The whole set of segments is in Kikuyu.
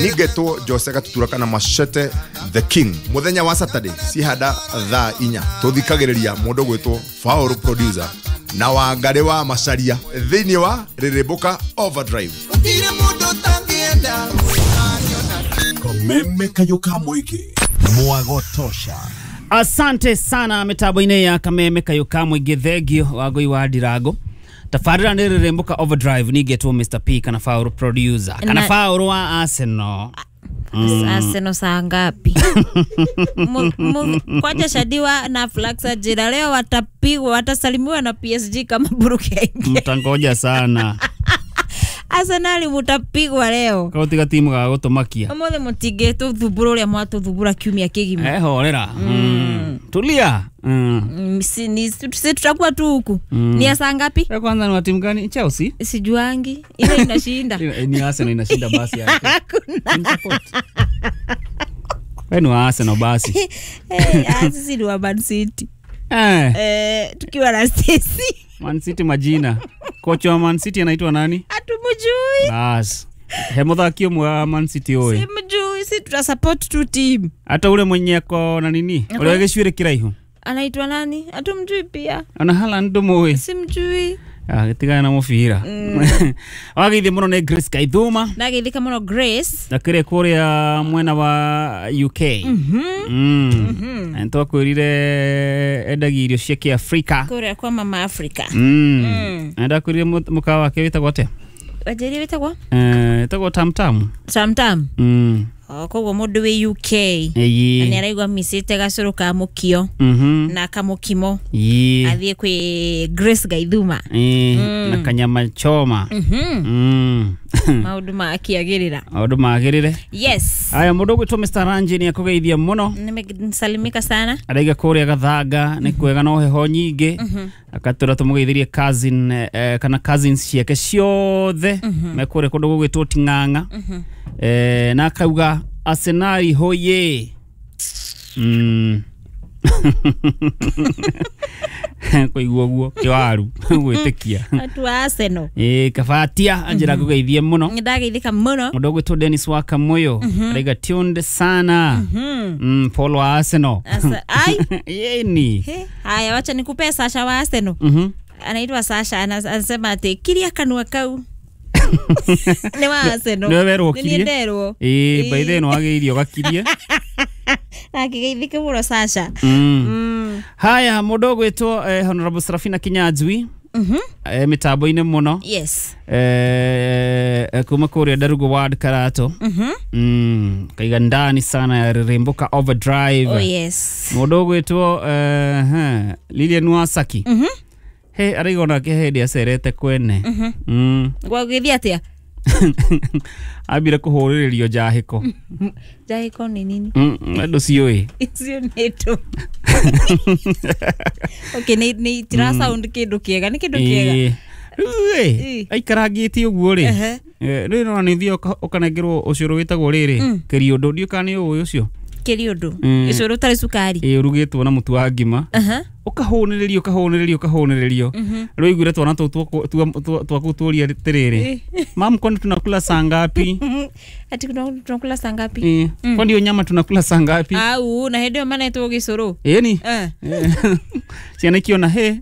Ningetwo Jose Gatutura kana Machete the King. Muthenya wa Saturday cihanda thaa 4 tuthikagiriria mundu gwitwo Faulu producer na Wangari wa Macharia thiini wa Rĩrĩmbũka Overdrive. Kameme kayo ka mwiki mwagotosha. Asante sana mitambo-inĩ ya Kameme kayo ka mũingĩ, thengio Wangũi wa Ndirango. Tabarĩra nĩ Rĩrĩmbũka Overdrive, ningetwo Mr P kana Faulu producer kana Faulu wa Arsenal. Arsenal saa ngapi? Kwaja Shadiwa na Flaxa jira leo watapigwa, watasalimiwa na PSG kama Buruke. Mtangoja sana. Arsenal mutapigwa leo. Kautiga timu ga gutumakia. Umuthi mutige tuthumbura uria mwatuthumbura kiumia kigima. Horera. Tulia. Si tutakuwa tu huku. Ni ya saa ngapi? Kwanza ni wa timu gani? Chelsea? Sijuangi. Ile inashinda. Ni Arsenal inashinda basi yake. Hakuna. Wewe ni wa Arsenal basi. Sisi ni wa Man City. Tukiwa na sisi. Man City majina. Kocha wa Man City anaitwa nani? Hatumjui. Bas. He muthaki wa Man City oe. Simjui, si tuta support tu team. Hata ule mwenye ako na nini? Ule gĩcuĩrĩ kĩraihu. Anaitwa nani? Hatumjui pia. Ona Haaland ndũmũĩ. Simjui. Gĩtigana na mũbira. Wageithie mũno nĩ Grace Kaithuma. Ndageithĩka mũno Grace. Ndakĩrĩ kũrĩa mwena wa UK. Na nĩtwakwĩrire endagia irio cia Kĩafrika. Kũrĩa kwa Mama Africa. Na ndakwĩrire mũkawa wake wĩtagwo atĩa? Wanjĩrire wĩtagwo? Wĩtagwo Tam Tam. Tam Tam. Koguo mũndũ wĩ UK na nĩ araigua micĩte gacũrũ ka mũkio na kamũkimo athiĩ kwĩ Grace Gaithuma na kanyama choma. Maũndũ makĩagĩrĩra. Maũndũ magĩrĩre. Yes. Aya, mũndũ ũgwĩtwo Mr Ranji nĩ akũgeithia mũno. Nimesalimika sana. Araiga kũrĩa Gathanga nĩ kwega no heho nyingĩ. Akatwĩra tũmũgeithirie cousin kana cousins ciake ciothe me kũrĩa kũndũ gũgwĩtwo Ting'ang'a. Na akauga Arsenal hoye. Koiguo guo kiwaru gwĩtĩkia. Atu Arsenal. Kabatia anjira kũgeithie mũno. Ndageithĩka mũno. Mũndũ ũgwĩtwo Dennis wa Kamoyo araiga tuned sana. Paul wa Arsenal. Ai. Yeni. Haya, wacha nikupe Sasha wa Arsenal. Anaitwa Sasha, anasema ati kiria kanua kau. Nĩ wa Arsenal. Nĩ werwo kirie. Nĩ nderwo. By the way wagĩirio gakirie. Akĩgeithĩka mũno Sasha. Haya, mũndũ ũgwĩtwo Honorable Serafina Kinyanjui. Mitambo-inĩ mũno. Yes. Kuma kũrĩa Ndarugo Ward Karato. Kaiga ndani sana ya Rĩrĩmbũka Overdrive. Oh yes. Mũndũ ũgwĩtwo Lilian Wasaki. He araiga onake hĩndĩ acerete kwene. Gwagĩthiĩ atĩa? Ambire kũhũrĩrĩrio njahĩko. Njahĩko nĩ nini? Andũ ciũĩ. Icio nĩ tũ. Okay, nĩ tira sound kĩndũ kĩega, nĩ kĩndũ kĩega. Rĩu aikarangĩtie ũguo rĩ. Rĩu no nĩ ũthiĩ ũkanengerwo ũcũrũ wĩtagwo rĩrĩ kĩriũndũ, ndiũĩ kana nĩ ũĩ ũcio. Kĩriũndũ? Ũcũrũ ũtarĩ cukari? Ũrugĩtwo na mũtu wa ngima. Ũkahũnĩrĩrio ũkahũnĩrĩrio ũkahũnĩrĩrio. Rĩu ũiguire twana tũu twaku tũria atĩrĩrĩ, mam, kwani tunakula saa ngapi? Ati tunakula saa ngapi? Kwani hiyo nyama tunakula saa ngapi? Au na hĩndĩ ĩyo manetwo gĩcũrũ. Ĩni. Ciana ikiona he.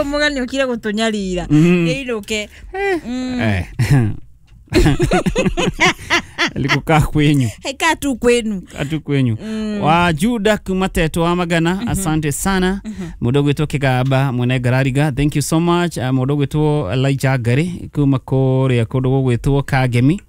Mũgani ũkire gũtũnyarira. Ĩinũke. Likukaa kwenyu. Kaa tu kwenu. Kaa kwenyu. Wa Juda kumateto wa Magana, asante sana. Mũndũ ũgwĩtwo Kĩgamba mwene Ngarariga, thank you so much. Mũndũ ũgwĩtwo Elijah Ngari kuma kũrĩa kũndũ gũgwĩtwo Kagemi.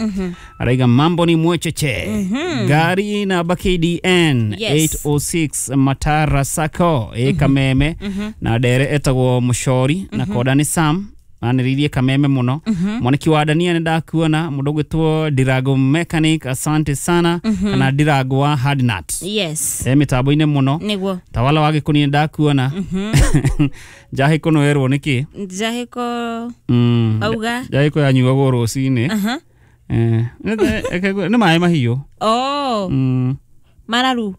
Araiga mambo ni mwecheche. Gari namba KDN 806 Matara Sacco Kameme na ndere etagwo Mũcori na konda nĩ Sam. Anĩrĩirie Kameme mũno. Mwaniki wa Dania nĩ ndakuona. Mũndũ ũgwĩtwo Ndirago Mechanic, asante sana. Kana Ndirago wa Hardnut. Yes. Mĩtambo-inĩ mũno. Nĩguo. Tawala wa Gĩkũni nĩ ndakuona. Njahĩko nĩ werwo nĩkĩ? Njahĩko auga. Njahĩko yanyuagwo rũcinĩ. Nĩ maĩ mahiũ. Oh. Mararu.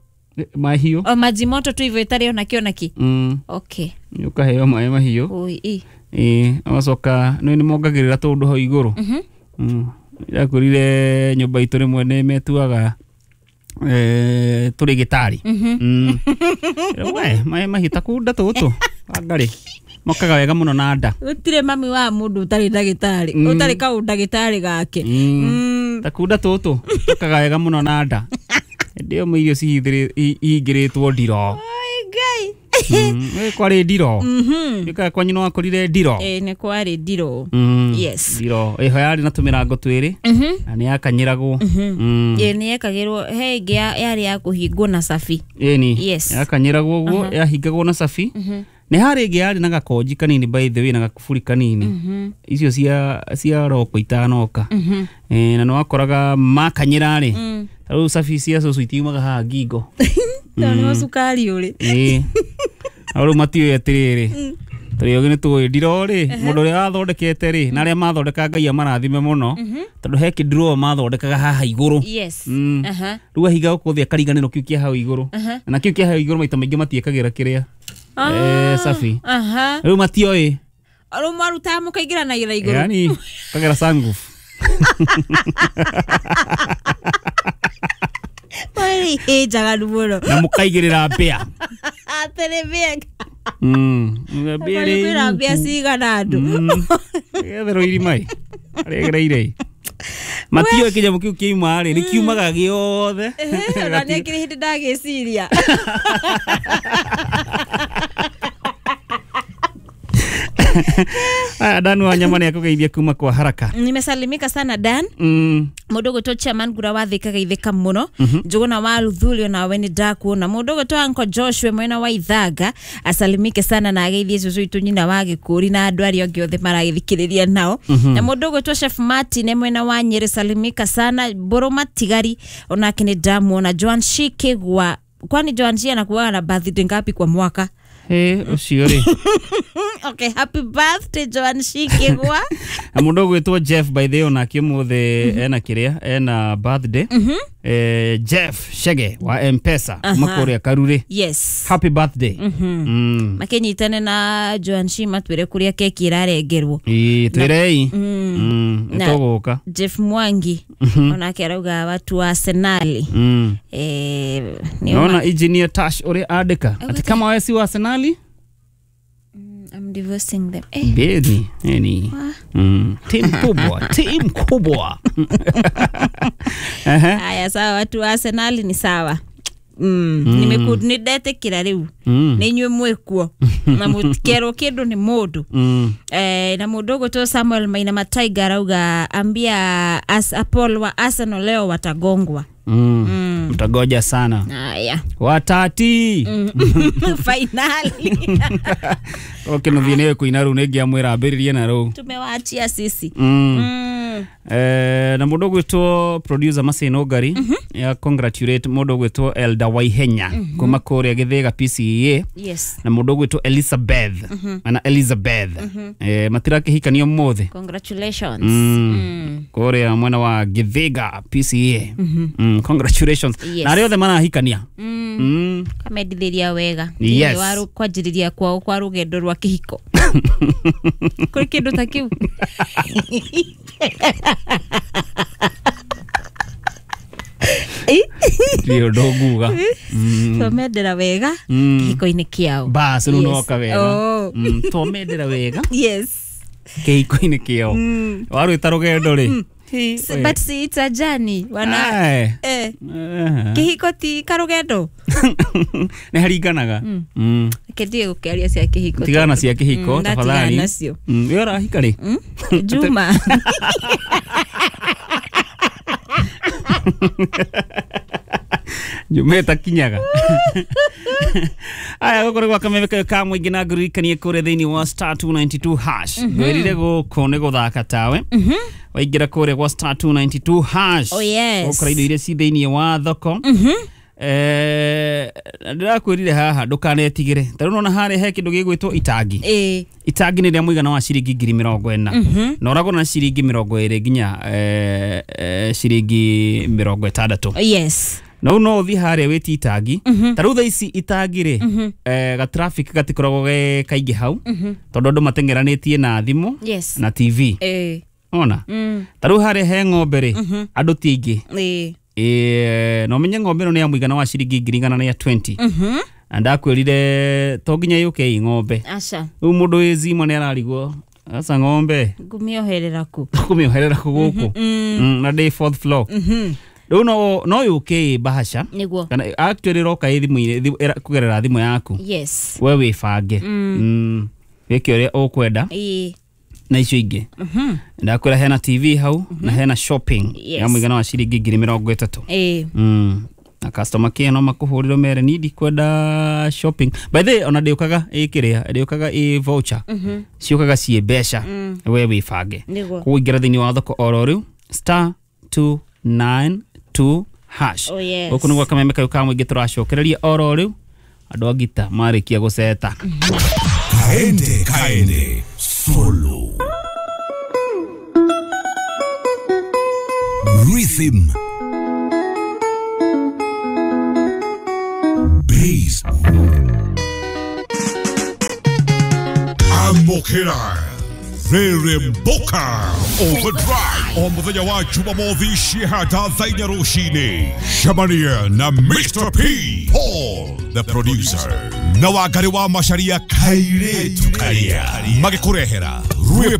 Mahiũ. O maji moto tu hivyo itarĩ ona kĩ ona kĩ. Okay. Ũkaheo maĩ mahiũ. Oi. Agacoka nĩ mongagĩrĩra tũndũ hau igũrũ. Ndakorire nyũmba itũ rĩmwe nĩ metuaga tũrĩ gĩtarĩ. We maĩ mahiũ ta kunda tũtũ Wangarĩ mokaga wega mũno na nda. Gũtirĩ mami wa mũndũ ũtarĩ ndagĩtarĩ, ũtarĩ kaũndagĩtarĩ gake. Ta kunda tũtũ tũkaga wega mũno na nda. Hĩndĩ ĩyo irio cihingĩrĩtwo ndiro. Ngai. Kwarĩ ndiro. Gĩkaga kwanyu no wakorire ndiro. Nĩ kwarĩ ndiro. Yes. Ndiro ĩho yarĩ na tũmĩrango twĩrĩ na nĩ yakanyĩragwo. Ĩ nĩ yekagĩrwo he ĩngĩ yarĩ ya kũhingwo na cabi. Ĩni. Yes. Yakanyĩragwo ũguo, yahingagwo na cabi. Nĩ harĩ ĩngĩ yarĩ na gakonji kanini by the way na gakuburi kanini. Icio cia roko itanoka. Na nĩ wakoraga makanyĩra rĩ, ta rĩu cabi cia cũcũ itiumaga haha ngingo. Tondũ nĩho cukari ũrĩ. Ĩĩ. Na rĩu matiũĩ atĩrĩrĩ, tũrĩ ogĩ nĩ tũĩ ndiro rĩ, mũndũ ũrĩa wathondekete rĩ, na arĩa mathondeka Ngai amarathime mũno, tondũ he kĩnduroo mathondekaga haha igũrũ. Yes. Rĩu ahinga gũkũ thĩ akariganĩrwo kĩu kĩa hau igũrũ. Na kĩu kĩa hau igũrũ maita maingĩ matiĩkagĩra kĩrĩa cabi. Rĩu matioĩ. Rĩu mwarutaga mũkaingĩranagira igũrũ. Yaani kagera sunroof. Ĩ njaganu mũno. Na mũkaigĩrĩra mbĩa. Atĩrĩ mbĩa. Mbĩa rĩ. Kwĩna mbĩa cigana andũ. Getherwo irima ĩ. Arĩgereire. Matioĩ kĩnyamũ kĩu kĩauma rĩ, nĩ kiumaga gĩothe. Ona nĩ akĩrĩ hĩndĩ ndagĩciria. Dan wa nyama nĩ akũgeithia kuma kwa haraka. Nimesalimika sana Dan. Mũndũ ũgwĩtwo chairman Ngura wa Thika geithĩka mũno. Njũgũna wa Luthuli nawe nĩ ndakuona. Mũndũ ũgwĩtwo Uncle Joshua mwena wa Ithanga asalimike sana na ageithie cũcũ witũ nyina wa Gĩkũri na andũ arĩa angĩ othe maragĩthikĩrĩria nao. Na mũndũ ũgwĩtwo Chef Martin mwena wa Nyeri salimika sana. Mbũrũ Matigari onake nĩ ndamuona. Joan Shikigwa, kwani Joan Shi anakuwaga na birthday ngapi kwa mwaka? Ũcio rĩ. Okay, happy birthday Joan Shikigwa. Na mũndũ ũgwĩtwo Jeff by the way onake ũmũthĩ ena kĩrĩa, ena birthday. Jeff Shege wa M-Pesa kuma kũrĩa Karurĩ. Yes. Happy birthday. Makĩnyitane na Joan Shi matwĩre kũrĩa keki ĩrarengerwo. Ĩĩ, twĩrei. Nĩtũgũka. Jeff Mwangi onake arauga watu wa Arsenal. Naona engineer Tash ũrĩa andĩka ati kama wewe si wa Arsenal, I'm divorcing them. Beni, eni. Timu kubwa, timu kubwa. Haya sawa, watu wa Arsenal ni sawa. Nimekudetĩkĩra rĩu. Nĩ inyuĩ mwĩkuo. Na mũtikerwo kĩndũ nĩ mũndũ. Na mũndũ ũgwĩtwo Samuel Maina Mataiga arauga ambia Apollo wa Arsenal leo watagongwa. Mtagoja sana. Haya. Watati. Finally. Okay, no thiĩ kuina rĩu nĩ ngĩamwĩra ambĩrĩrie na rĩu. Tumewaachia sisi. Na mũndũ ũgwĩtwo producer Maseno Ngari ya congratulate mũndũ ũgwĩtwo Elda Waihenya kuma kũrĩa Gĩthĩga PCEA. Yes. Na mũndũ ũgwĩtwo Elizabeth. Ana Elizabeth. Matirakĩhikanio ũmũthĩ. Congratulations. Kũrĩa mwena wa Gĩthĩga PCEA. Congratulations. Yes. Na arĩa othe marahikania. Kamendithĩria wega. Yes. Wa kwanjĩrĩria kwao kwa rũgendo rwa kĩhiko. Kũrĩ kĩndũ ta kĩu. Ndio ndonguga. Twamendera wega kĩhiko-inĩ kĩao. Bas rĩu noka wega. Twamendera wega. Yes. Kĩhiko-inĩ kĩao. Warwĩta rũgendo rĩ. But see, it's a journey. Wana kĩhiko ti karũgendo. Nĩ haringanaga. Kĩndige gũkĩaria cia kĩhiko. Tigana cia kĩhiko tafadhali. We ũrahika rĩ? Juma. Juma ĩtakinyaga. Aya gũkũ nĩ gwa kameme ka mũingĩ na ngũririkanie kũrĩa thĩinĩ wa star 292 hash. Ngwĩrire gũkũ nĩ gũthaka tawe. Waingĩra kũrĩa gwa star 292 hash. Oh yes. Ũkora indo iria ci thĩinĩ wa thoko. Ndĩrakwĩrire haha ndũkanetigĩre. Ta rĩu nona harĩa he kĩndũ gĩgwĩtwo itangi. Itangi nĩ rĩa mũigana wa ciringi 40,000. Na ũragũra na ciringi 20 nginya ciringi 60. Yes. Na rĩu no ũthiĩ harĩa wĩtie itangi. Ta rĩu thaa ici itangi rĩ, ga traffic gatikoragwo ge kaingĩ hau, tondũ andũ mateng'eranĩtie na thimũ Yes. na TV. Ona ta rĩu harĩa he ng'ombe rĩ, andũ ti aingĩ. Ĩĩ, na ũmenye ng'ombe ĩno nĩ ya mũigana wa ciringi 120,000. Na ndakwĩrire to nginya yũke ĩ ng'ombe. Aca. Rĩu mũndũ wĩ zima nĩ ararigwo aca ng'ombe Ngũmĩoherera kũ? Kũmĩoherera kũ gũkũ? Na ndĩ fourth floor. Rĩu no yũke ĩ bahasha Nĩguo. kana actually ĩroka ĩ thimũ-inĩ, kũgerera thimũ yaku. We wĩbange, wĩke ũrĩa ũkwenda na icio ingĩ. Ndakwĩra hena TV hau na hena shopping ya mũigana wa ciringi 30,000. Na customer care no makũhũrĩre mere ni ndikwenda shopping. By the way, ona ndĩũkaga ĩ kĩrĩa, ndĩũkaga ĩ voucher, ciũkaga ciĩ mbeca, we wĩbange. Nĩguo. Koguo ingĩra thĩinĩ wa thoko oro rĩu *292#. Oh, yes. Gũkũ nĩguo kameme kau ka mũingĩ tũracokereria oro rĩu andũ a ngita marĩkia gũceta. Kaende kaende solo. Rhythm. Bass. Amokera. Rere Mboka Overdrive o muthenya wa Jumamothi cihata thaa inya rũcinĩ. Cemania na Mr P Paul the producer na Wangari wa Macharia kairĩtu karia magĩkũrehera rwĩmbo.